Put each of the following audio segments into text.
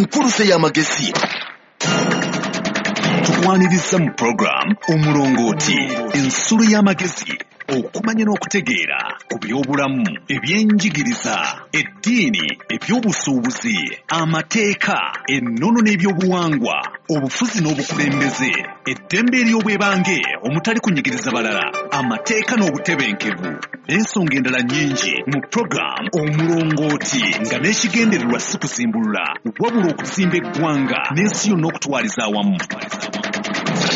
Enkuluze y'amagezi. Tukwaniriza mu program Omulongooti, ensulo y'amagezi, okumanya n'okutegeera ku by'obulamu, ebyenjigiriza, eddiini, ebyobusuubuzi, amateeka, ennono n'ebyobuwangwa, obufuzi n'obukulembeze, eddembe ery'obwebange omutali kunyigiriza balala, amateeka n'obutebenkevu, n'ensonga endala nnyingi mu program Omulongooti, nga n'ekigendererwa si kuzimbulula wabula okuzimba eggwanga n'ensi yonna okutwaliza awamu.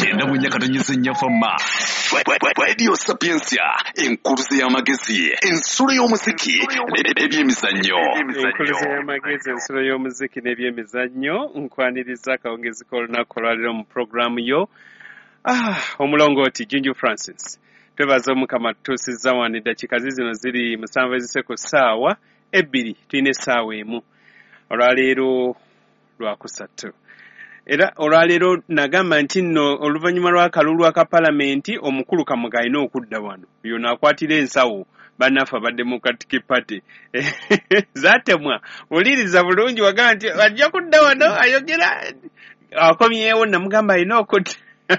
94.4 Fama Radio Sapientia, enkuluze y'amagezi, ensulo y'omuziki n'ebyemizannyo. Enkuluze y'amagezi, ensulo y'omuziki n'ebyemizannyo. Nkwaniriza akawungezi k'olunaku olwaleero mu puroguramu yo Omulongooti. Junju Francis, twebaza Omukama tutuusizza wano. Eddakiika zizino ziri 7 ezise ku ssaawa 2, tulina essaawa 1. Olwaleero lwakusatu, era olwaleero nagamba nti nno oluvannyuma lw'akalulu aka palamenti, omukulu Kamoga alina okudda wano yono akwatira ensawo bannaffe aba Democratic Party zaatemwa. Wuliriza bulungi, wagamba nti ajja kudda wano ayogera akomyewo, namugamba alina okudda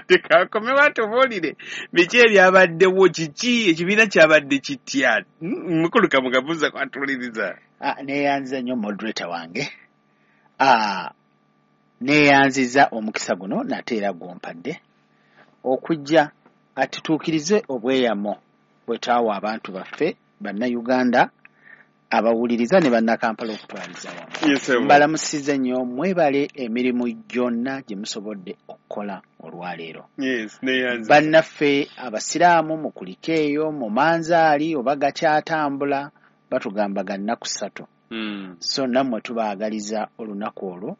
tekakomewo atubuulire biki ebyabaddewo, kiki ekibiina kyabadde kitya. Mukulu Kamoga, buuza kwatuwuliriza. Neeyanziza nnyo moderator wange, neeyanziza omukisa guno nate era gwompadde okujja atutuukirize obweyamo bwe twawa abantu baffe Bannayuganda abawuliriza ne Bannakampala okutwaliza wamu. Mbalamusize nnyo, mwebale emirimu gyonna gye musobodde okukola olwaleero. Bannaffe abasiraamu mukulike eyo mu manzaali oba gakyatambula, batugamba ga nnaku 3. So nammwe tubaagaliza olunaku olwo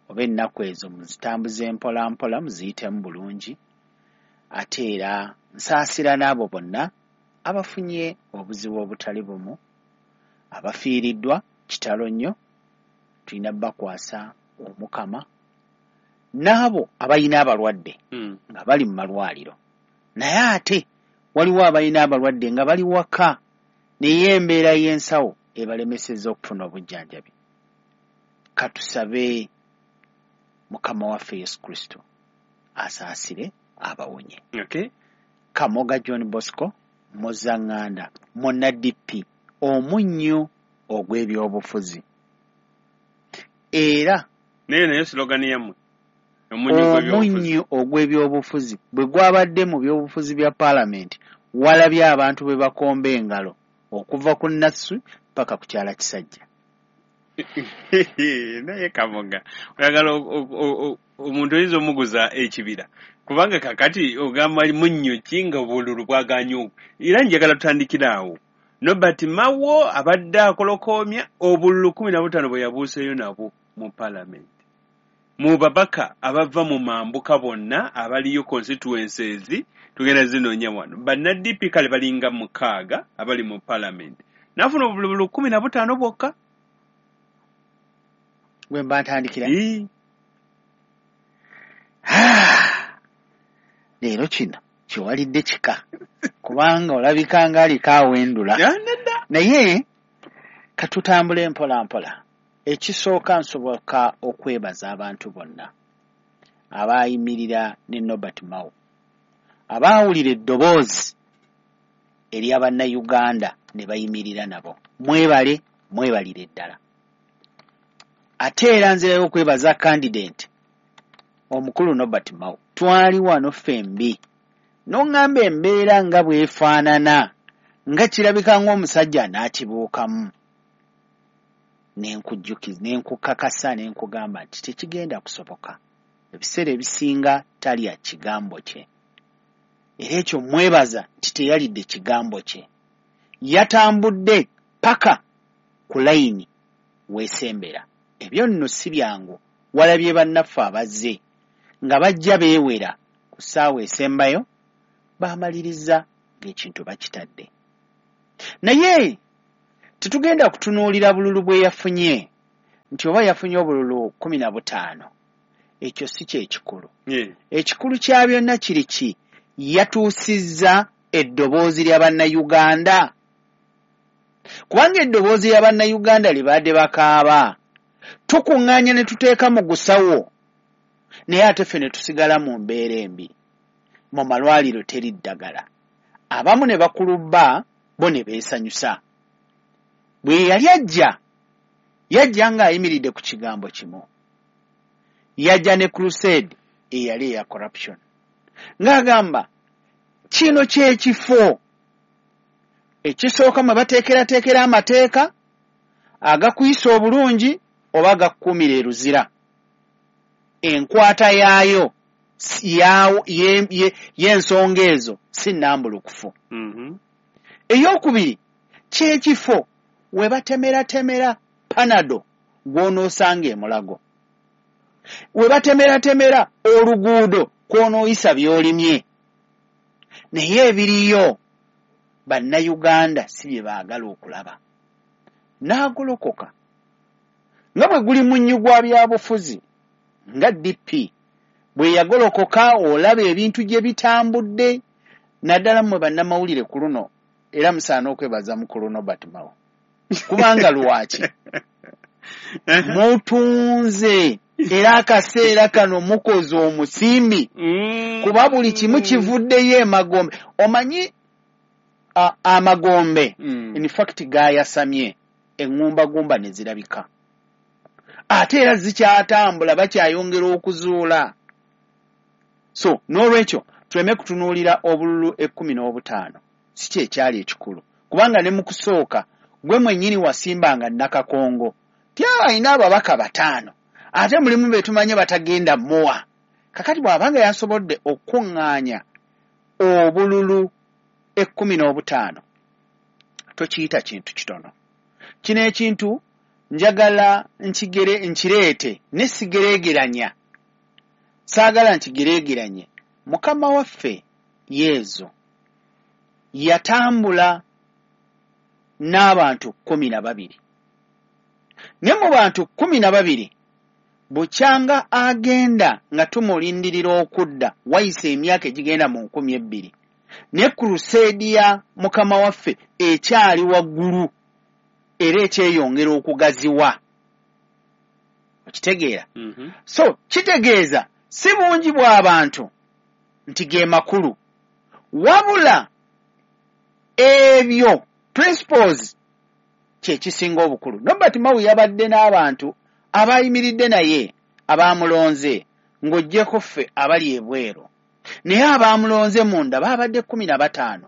oba ennaku ezo muzitambuze mpola mpola, muziyitemu bulungi. Ate era nsaasira n'abo bonna abafunye obuzibu obutali bumu, abafiiriddwa, kitalo nnyo, tulina bakwasa Omukama, n'abo abalina abalwadde nga bali mu malwaliro. Naye ate waliwo abalina abalwadde nga bali waka, naye embeera y'ensawo ebalemesezza okufuna obujjanjabi. Katusabe Mukama waffe Yesu Kristo asaasire abawonye. Kamoga John Bosco Muzaŋŋanda, munna DP, omunnyu ogw'ebyobufuzi. Era naye slogan yammwe omunnyu ogw'ebyobufuzi bwe gwabadde mu byobufuzi bya paalamenti, walabye abantu bwe bakomba engalo okuva ku Nassu paka ku Kyala Kisajja. Naye Kamoga, oyagala omuntu oyinza omuguza ekibira, kubanga kakati ogamba munnyu ki nga obululu bwaganye. Era njagala tutandikire awo. Norbert Mao abadde akolokoomya obululu 15 bwe yabuuseeyo nabwo mu paalamenti. Mu babaka abava mu mambuka bonna abaliyo constituencies tugenda zinoonya wano. Banna DP kale balinga 6 abali mu paalamenti. N'afuna obululu 15 bwokka. Gwe mba ntandikira. Leero kino kiwalidde kika, kubanga olabika ng'aliko awendula. Naye katutambule mpola mpola. Ekisooka nsoboka okwebaza abantu bonna abaayimirira ne Norbert Mao, abaawulira eddoboozi erya Bannayuganda ne bayimirira nabo. Mwebale, mwebalire ddala. Ate era nzirayo okwebaza candidate omukulu Norbert Mao. Twali wano ffembi n'oŋŋamba embeera nga bw'efaanana, nga kirabika ng'omusajja n'akibuukamu. Nenkujjukiza, nenkukakasa, nenkugamba nti tekigenda kusoboka. Ebiseera ebisinga talya kigambo kye. Era ekyo mwebaza nti teyalidde kigambo kye. Yatambudde paka ku layini weesembera. Ebyo nno si byangu. Walabye bannaffe abazze nga bajja beewera ku ssaawa esembayo, baamaliriza ng'ekintu bakitadde. Naye tetugenda kutunuulira bululu bwe yafunye nti oba yafunye obululu 15. Ekyo si kye kikulu. Ekikulu kya byonna kiri ki? Yatuusizza eddoboozi lya Bannayuganda. Kubanga eddoboozi lya Bannayuganda libadde bakaaba. Tukuŋŋaanya ne tuteeka mu gusawo, naye ate ffe ne tusigala mu mbeera embi. Mu malwaliro teri ddagala, abamu ne bakulubba, bo ne beesanyusa. Bwe yali ajja, yajja ng'ayimiridde ku kigambo kimu. Yajja ne crusade eyali eya corruption, ng'agamba kino ky'ekifo ekisooka mwe bateekerateekera amateeka agakuyisa obulungi oba agakukuumira eruzira. Enkwata yaayo y'ensonga ezo si nnambulukufu. Eyokubiri, ky'ekifo we batemeratemera panado gw'onoosanga emulago, we batemeratemera oluguudo kw'onooyisa by'olimye. Naye ebiriyo Bannayuganda si bye baagala okulaba. N'agolokoka nga bwe guli munnyu gwa byabufuzi, nga DP bwe yagolokoka, olaba ebintu gye bitambudde, naddala mmwe bannamawulire ku luno, era musaana okwebaza mukulu Norbert Mao, kubanga lwaki mutunze era akaseera kano mukoze omusimbi, kuba buli kimu kivuddeyo emagombe. Omanyi amagombe in fact gayasamye, eŋŋumbagumba ne zirabika, ate era zikyatambula, bakyayongera okuzuula. So n'olwekyo tuleme kutunuulira obululu 15, si kyekyali ekikulu, kubanga ne mu kusooka gwe mwennyini wasimbanga Nakakongo ti alina ababaka 5, ate mulimu be tumanye batagenda muwa. Kakati bw'abanga yasobodde okukuŋŋaanya obululu 15, tokiyita kintu kitono. Kino ekintu njagala nkireete ne sigereegeranya, saagala nkigereegeranye. Mukama waffe Yezu yatambula n'abantu 12, ne mu bantu 12 bukyanga agenda nga tumulindirira okudda, wayise emyaka egigenda mu 2000, ne crusade ya Mukama waffe ekyali waggulu era ekyeyongera okugaziwa. Okitegeera? So kitegeeza si bungi bw'abantu nti ge makulu, wabula ebyo principles kye kisinga obukulu. Norbert Mao yabadde n'abantu abayimiridde naye abaamulonze, ng'oggyeko ffe abali ebweru, naye abaamulonze munda baabadde 15.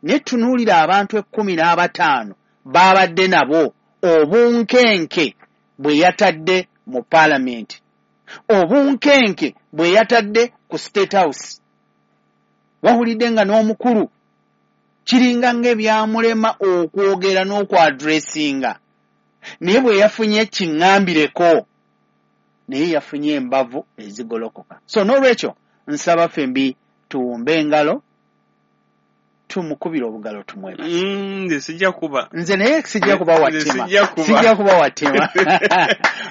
Ne tunuulira abantu 15 baabadde nabo, obunkenke bwe yatadde mu paalamenti, obunkenke bwe yatadde ku State House. Wawulidde nga n'omukulu kiringa ng'ebyamulema okwogera n'okwadressinga, naye bwe yafunye kiŋŋambireko, naye yafunye embavu ezigolokoka. So n'olwekyo nsaba ffembi tuwumbe engalo, tumukubire obugalo, tumwebaze. Nze sijja kuba. Nze naye sijja kuba Nze wattima, sijja kuba. Sijja kuba wattima.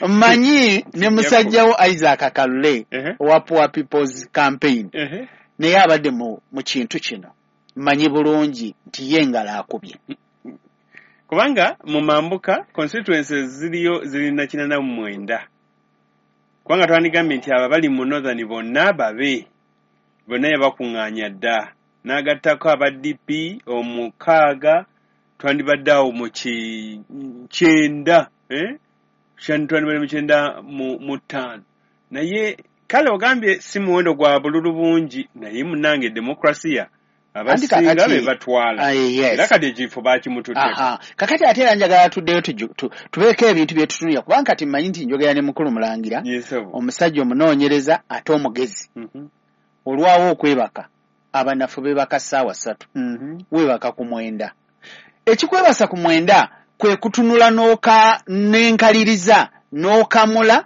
Mmanyi ne musajja wo Isaac Kalule owa Poor People's Campaign, naye abadde mu kintu kino, mmanyi bulungi nti ye engalo akubye. Kubanga mu mambuka constituencies ziriyo ziri 89, kubanga twandigambye nti abo abali mu Northern bonna babe bonna yabakuŋŋaanya dda, n'agattako aba DP 6, twandibadde awo mu 90, eh? Twandibadde mu 95. Naye kale ogambye si muwendo gwa bululu bungi, naye munnange demokrasiya Anti abasinga kakati be batwala. Aye, yes. Era kati ekifo bakimututteko. Aha. Kakati ate era njagala tuddeyo tubeeko ebintu bye tutunulira, kubanga kati mmanyi nti njogera ne mukulu Mulangira, Yes, sir. omusajja omunoonyereza ate omugezi. Olwawo okwebaka, abanafu beebaka ssaawa 3. Weebaka ku 9. Ekikwebasa ku 9 kwe kutunula n'enkaliriza, n'okamula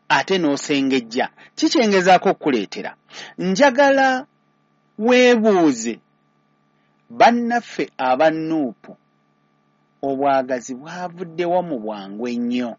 ate n'osengejja. Kikyengezaako okukuleetera. Njagala weebuuze bannaffe aba Nuupu obwagazi bwavuddewa mu bwangu ennyo.